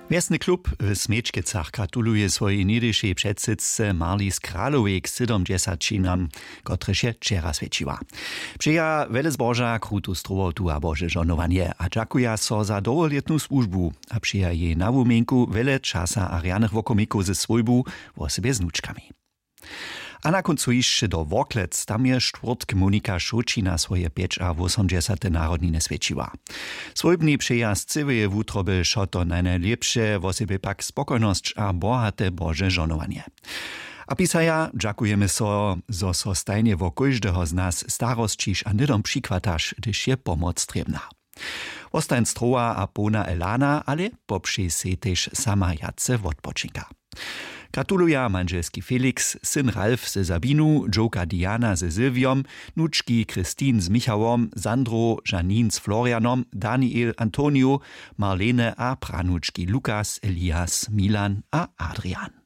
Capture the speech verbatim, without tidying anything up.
Wjesny klub w Smječkecach gratuluje swojej něhdyšej předsydce Marlis Kralowej k sydomdźesaćinam, kotrež je wčera swjećiła. Přeja wjele zboža, krutu strowotu a bože žohnowanje a dźakuja so za dołholětnu słužbu a přeja jej na wuměnku wjele časa a rjanych wokomikow ze swójbu, wosebje z nučkami. A na kóncu hišće do Worklec. Tam je štwórtk Monika Šołćina swoje pjećawósomdźesate narodniny swjećiła. Swójbni přeja z cyłeje wutroby wšo to najnajlěpše, wosebje pak spokojnosć a bohate bože žohnowanje. A pisaja: Dźakujemy so, zo so stajnje wo kóždeho z nas starosćiš a hnydom přichwataš, hdyž je pomoc trěbna. Wostań strowa a połna elana, ale popřej sej tež sama wjace wotpočinka. Gratuluja mandźelski Felix, syn Ralf ze Sabinu, dźowka Diana ze Sylwiom, nučki Christine z Michałom, Sandro, Janine z Florianom, Daniel, Antonio, Marlene a pranučki Lukas, Elias, Milan a Adrian.